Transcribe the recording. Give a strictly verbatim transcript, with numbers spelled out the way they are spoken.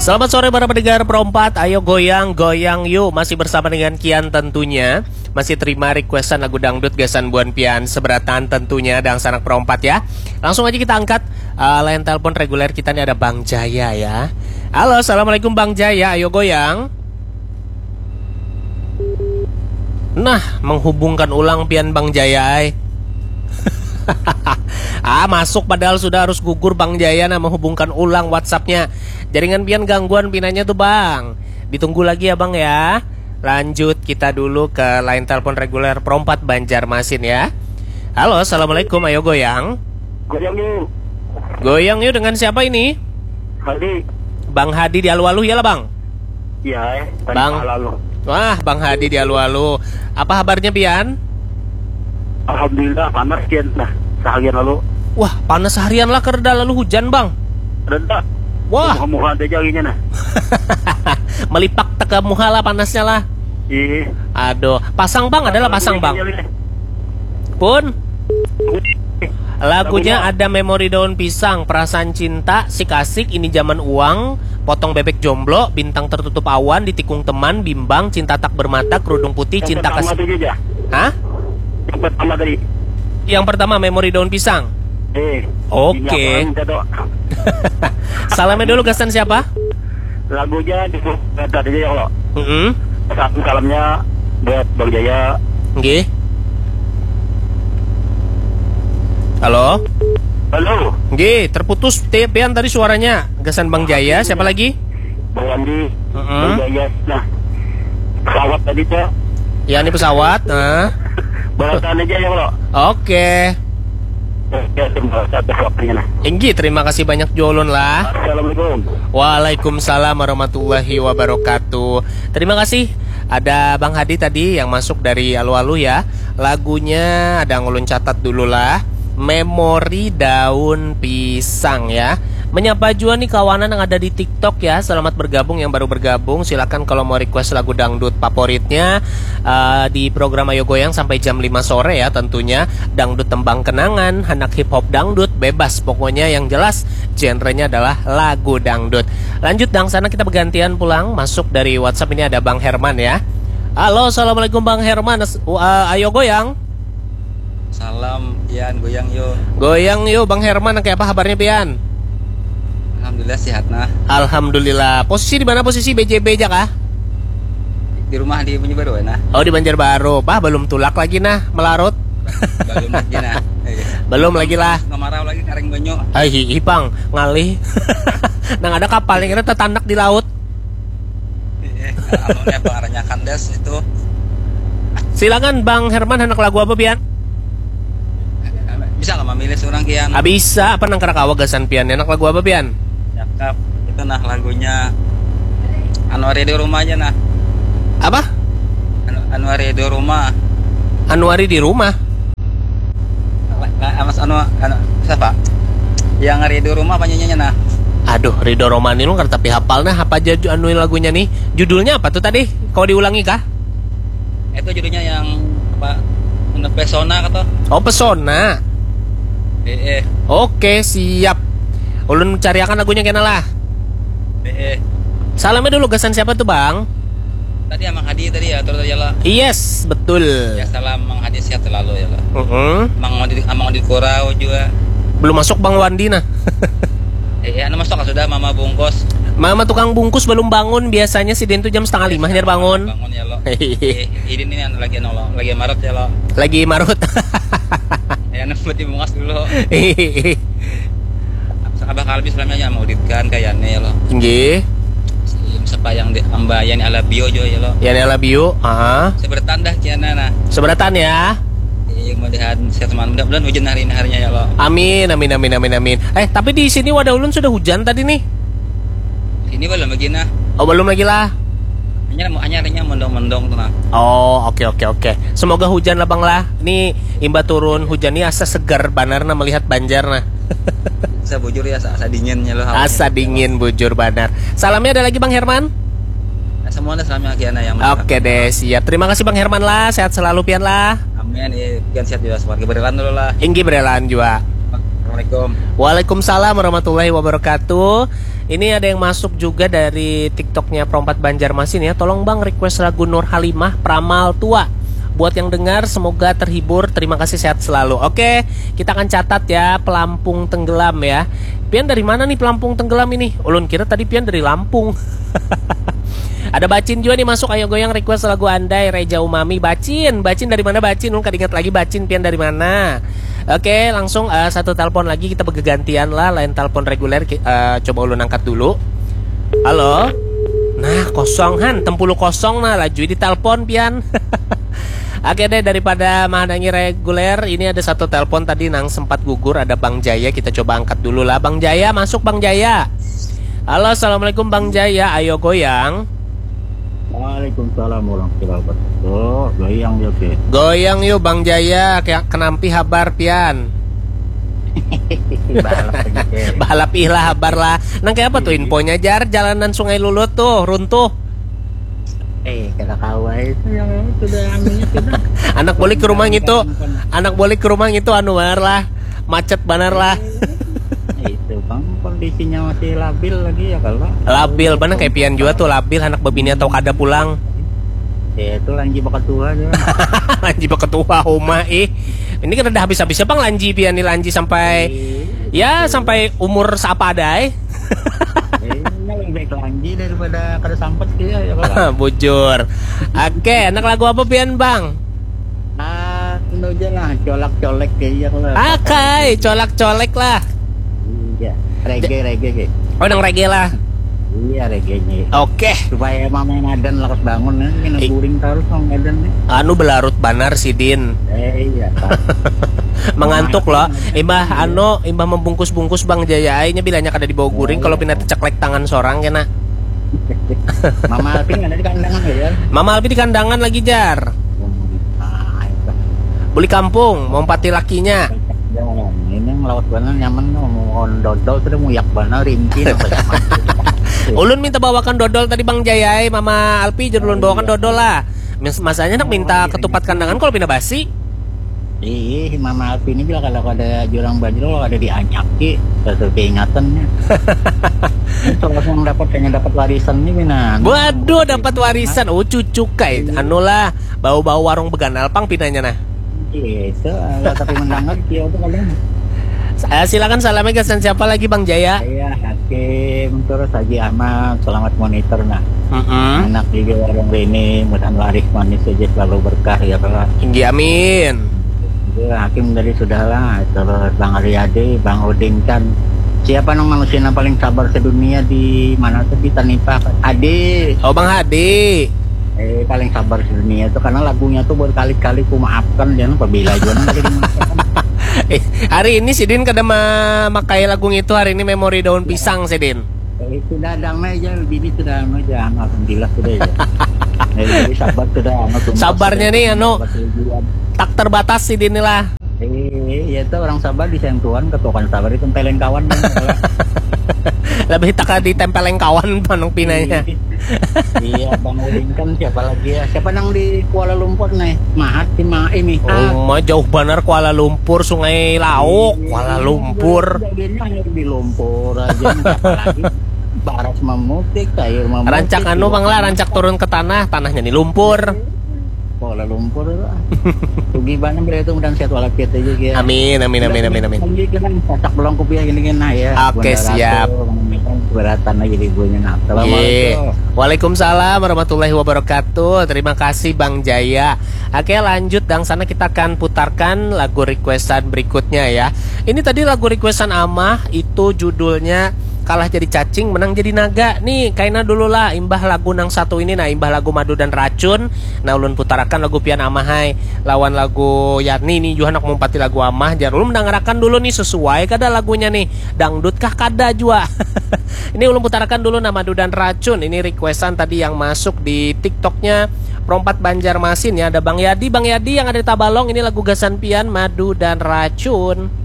Selamat sore para pendengar Pro empat, ayo goyang, goyang yuk. Masih bersama dengan Kian tentunya. Masih terima requestan lagu dangdut gasan buan pian seberatan tentunya, dangsanak Pro empat ya. Langsung aja kita angkat uh, line telepon reguler kita nih, ada Bang Jaya ya. Halo, assalamualaikum Bang Jaya, ayo goyang. Nah, menghubungkan ulang pian Bang Jaya ai. Ah, masuk padahal sudah harus gugur Bang Jaya, nah, menghubungkan ulang WhatsAppnya. Jaringan pian gangguan pinanya tuh Bang. Ditunggu lagi ya Bang ya. Lanjut kita dulu ke line telepon reguler Pro empat Banjarmasin ya. Halo, assalamualaikum, ayo goyang. Goyang yuk. Goyang yuk, dengan siapa ini? Hadi. Bang Hadi di Alualuh ya lah Bang? Iya eh. Bang. Lalu. Wah, Bang Hadi di Alualuh. Apa kabarnya pian? Alhamdulillah, panas kian nah. Seharian lalu. Wah, panas seharian lah, kereda lalu hujan Bang. Reda. Wah. Muha-muha ada aja anginnya nah. Melipak teka muha lah panasnya lah. Iya. Aduh, pasang Bang, adalah pasang Bang. Pun. Lagunya ada Memori Daun Pisang, Perasaan Cinta, Sik Asik, Ini Zaman Uang, Potong Bebek Jomblo, Bintang Tertutup Awan, Ditikung Teman, Bimbang, Cinta Tak Bermata, Kerudung Putih, Cinta Kes... Hah? Yang pertama tadi. Yang pertama Memori Daun Pisang. Eh. Oke. Salamnya dulu gasan siapa? Lagunya di tadi ya Allah. Mm -hmm. Salam salamnya buat Bang Jaya. Nggih. Halo? Halo. Nggih, terputus pian tadi suaranya. Gasan Bang Jaya, siapa lagi? Bang Wandi. Mm -hmm. Bang Jaya. Nah. Pesawat tadi tuh. Ya, ini pesawat. Nah. Balasan aja ya Allah. Oke. Oke, terima kasih atas waktunya nah. Inggih, terima kasih banyak jolon lah. Assalamualaikum. Waalaikumsalam warahmatullahi wabarakatuh. Terima kasih. Ada Bang Hadi tadi yang masuk dari Alu-Alu ya. Lagunya ada ngulun catat dulu lah. Memori Daun Pisang ya. Menyapa juga nih kawanan yang ada di TikTok ya. Selamat bergabung yang baru bergabung. Silakan kalau mau request lagu dangdut favoritnya uh, di program Ayo Goyang sampai jam lima sore ya tentunya. Dangdut tembang kenangan, anak hip hop dangdut, bebas. Pokoknya yang jelas genrenya adalah lagu dangdut. Lanjut dang sana kita bergantian pulang. Masuk dari WhatsApp ini ada Bang Herman ya. Halo, assalamualaikum Bang Herman. Uh, ayo goyang. Salam, Yan, goyang yo. Goyang yo, Bang Herman, kayak apa kabarnya pian? Alhamdulillah sehat nah. Alhamdulillah. Posisi di mana posisi B J B aja kah? Di rumah di Banjarbaru nah. Oh, di Banjarbaru. Bah, belum tulak lagi nah, melarut. Belum lagi nah. Iya. Belum lagi lah. Kemarau lagi karing banyu. Ai hi, ipang ngalih. Nang ada kapal yang kira tetanak di laut. Iya, anu nih pengarahnya kandas itu. Silakan Bang Herman, anak lagu apa pian? Bisa lah memilih seorang kian. Ah, bisa, apa nang kerakawa gasan pian? Anak lagu apa pian? Cakep. Itu nah lagunya Anu Ari di rumah aja nah. Apa? Anu, Anu Ari di rumah. Anu Ari di rumah. Mas Anu, anu siapa? Yang Ridho Roma apa nyanyinya nah? Aduh, Ridho Roma ini lu ngerti tapi hafal nah apa aja anu lagunya nih? Judulnya apa tuh tadi? Kau diulangi kah? Itu judulnya yang apa? Pesona kata. Oh, Pesona. Eh, eh. Oke, siap. Ulun cariakan lagunya kena lah. Eh, eh. Salamnya dulu gasan siapa tuh, Bang? Tadi Amang Hadi tadi ya, terus ya lah. Yes, betul. Ya salam Mang Hadi sehat selalu ya lah. Uh -uh. Mang Wandi, Mang Wandi Kurau juga. Belum masuk Bang Wandi nah. Eh, ya, anu masuk sudah Mama Bungkus. Mama tukang bungkus belum bangun, biasanya si Din tuh jam setengah lima nyar bangun. Bangun ya lo. Eh, ini nih anu lagi anu lo, lagi marut ya lo. Lagi marut. Ya anu buat dibungkus dulu. Abah Kalbi selamanya mau dikan kayaknya ya lo. Nggih. Siapa yang di Mbak Yani Alabio juga ya lo. Yani Alabio, ah. Seberatan dah kiana nah. Seberatan ya. Iya, mudahan sehat teman. Mudah-mudahan hujan hari ini harinya ya lo. Amin, amin, amin, amin, amin. Eh, tapi di sini wadah ulun sudah hujan tadi nih. Ini belum lagi nah. Oh, belum lagi lah. Hanya hanya harinya mendong-mendong tuh nah. Oh, oke, oke, oke. Semoga hujan lah Bang lah. Ini imba turun hujan nih asa segar banar nah melihat Banjar nah. Asa bujur ya, asa, asa dinginnya lo. Asa dingin bujur banar. Salamnya ada lagi Bang Herman? Nah, semua ada salamnya lagi anak yang. Oke deh, siap. Terima kasih Bang Herman lah, sehat selalu pian lah. Amin. Iya, pian sehat juga, semoga berelan dulu lah. Inggi berelan juga. Assalamualaikum. Waalaikumsalam warahmatullahi wabarakatuh. Ini ada yang masuk juga dari TikToknya Perompat Banjarmasin ya. Tolong bang request lagu Nur Halimah, Pramal Tua. Buat yang dengar semoga terhibur. Terima kasih, sehat selalu. Oke, kita akan catat ya, Pelampung Tenggelam ya. Pian dari mana nih Pelampung Tenggelam ini? Ulun kira tadi pian dari Lampung. Ada Bacin juga nih masuk, ayo goyang request lagu Andai, Reja Umami. Bacin, Bacin dari mana Bacin? Ulun kada ingat lagi Bacin pian dari mana. Oke, langsung eh, satu telepon lagi, kita bergantian lah, lain telepon reguler ki- eh, coba ulun angkat dulu. Halo. Nah, kosong han, tempulu kosong nah, laju ditelepon pian. Oke deh, daripada menghadangi reguler, ini ada satu telepon tadi nang sempat gugur, ada Bang Jaya, kita coba angkat dulu lah. Bang Jaya, masuk Bang Jaya. Halo, assalamualaikum Bang Jaya, ayo goyang. Waalaikumsalam warahmatullahi wabarakatuh. Goyang ya, Ki. Goyang yuk Bang Jaya, kayak kenampi habar pian. Balap aja, Ki. Balap ilah habar lah. Nang kayak apa tuh infonya, Jar? Jalanan Sungai Lulut tuh runtuh. Eh, kada kawa itu yang sudah anunya sudah. Anak balik ke rumah gitu. Anak balik ke rumah gitu, anu banar lah. Macet banar lah. Eh, itu bang, kondisinya masih labil lagi ya kalau. Labil, mana kayak pian juga tuh, labil, anak bebini atau kada pulang. Ya itu lanji bakat tua aja. Lanji bakat tua, homa ih. Ini kan ada habis-habisnya bang, lanji pian nih, lanji sampai ya sampai umur seapa ada eh. Eh, ini lebih baik lanji daripada kada sampat dia ya kalau. Bujur. Oke, anak lagu apa pian bang? Ah, itu aja lah, colak-colek kayak iya lah. Akai, colak-colek lah. Iya, reggae, reggae, kayak. Oh, nang reggae lah. Iya, reggae-nya. Oke. Supaya mama yang ada lakas bangun, ya, kena I- guring terus sama badan nih. Anu belarut banar sidin. Eh, iya, Pak. Mengantuk loh. Imbah anu, imbah membungkus-bungkus Bang Jaya ainya bilanya kada dibawa guring kalau pina teceklek tangan sorang kena. Mama Alvin ada di kandangan ya? Mama Alvin di kandangan lagi, Jar. Ah, itu. Beli kampung, mau empati lakinya. Ini yang lawas banar nyaman tuh, mau dodol sudah muyak banar rinci nang banyak. Ulun minta bawakan dodol tadi Bang Jaya ai, Mama Alpi jar ulun bawakan dodol lah. Mas- Masanya nak minta ketupat kandangan kalau pina basi. Ih, Mama Alvin ini bila kalau ada jurang banjir, kalau ada dianyaki, terus keingatan ya. Terus yang dapat, yang dapat warisan ini pina. Waduh, dapat warisan. Oh, cucu kai. Anu lah, bau-bau warung beganal pang pinanya nah. Gitu, kalau tapi mendengar dia itu kadang. Eh, silakan salamnya gasan siapa lagi Bang Jaya? Saya Hakim, terus Haji Ahmad, selamat monitor nah. Mm-mm. Anak juga warung Rini, mudahan laris manis aja selalu berkah ya kalau. Tinggi amin. Itu Hakim tadi sudah lah, terus Bang Riyadi, Bang Udin kan. Siapa nang manusia yang paling sabar sedunia di mana tuh kita nih Pak? Adi. Oh Bang Hadi. Eh, paling sabar sedunia itu karena lagunya tuh berkali-kali ku maafkan dan apabila juga nanti dimaafkan. Eh, hari ini sidin kada memakai lagu itu, hari ini memori daun pisang sidin. Eh, sudah damai aja, bini sudah damai aja, alhamdulillah sudah ya. Eh, jadi sabar sudah, anu, tuntas Sabarnya sudah. Nih, anu, Dapat tujuan. Tak terbatas sidin nih lah. Eh, ya itu orang sabar di sentuhan, ketukan sabar itu peleng kawan. Lebih tak ditempeleng kawan panung pinanya. Iya, Bang Udin kan siapa lagi ya? Siapa nang di Kuala Lumpur nih? Mahat si Ma ini. Oh, mah jauh banar Kuala Lumpur, Sungai Lauk, Kuala Lumpur. Jadinya di lumpur aja, siapa lagi? Baras memutik, sayur memutik. Rancak anu bang lah, rancak turun ke tanah, tanahnya di lumpur. Kuala Lumpur lah. Rugi banget beliau itu, mudahan sehat walafiat aja ya. Amin, amin, amin, amin, amin. Lagi kan pasak belangkup ya gini kan nah ya. Oke, Bunda siap. Ratu, beratan aja di ibunya nah. Ye. Assalamualaikum. Waalaikumsalam warahmatullahi wabarakatuh. Terima kasih Bang Jaya. Oke, lanjut dang sana kita akan putarkan lagu requestan berikutnya ya. Ini tadi lagu requestan Amah itu judulnya Kalah Jadi Cacing Menang Jadi Naga. Nih, kaina dulu lah imbah lagu nang satu ini nah, imbah lagu Madu dan Racun. Nah, ulun putarakan lagu pian Amah hai lawan lagu Yarni nih, juga anak mumpati lagu Amah. Jar ulun mendangarakan dulu nih sesuai kada lagunya nih. Dangdut kah kada jua. Ini ulun putarakan dulu nah Madu dan Racun. Ini requestan tadi yang masuk di TikToknya Perompat Banjarmasin ya. Ada Bang Yadi, Bang Yadi yang ada di Tabalong. Ini lagu gasan pian, Madu dan Racun.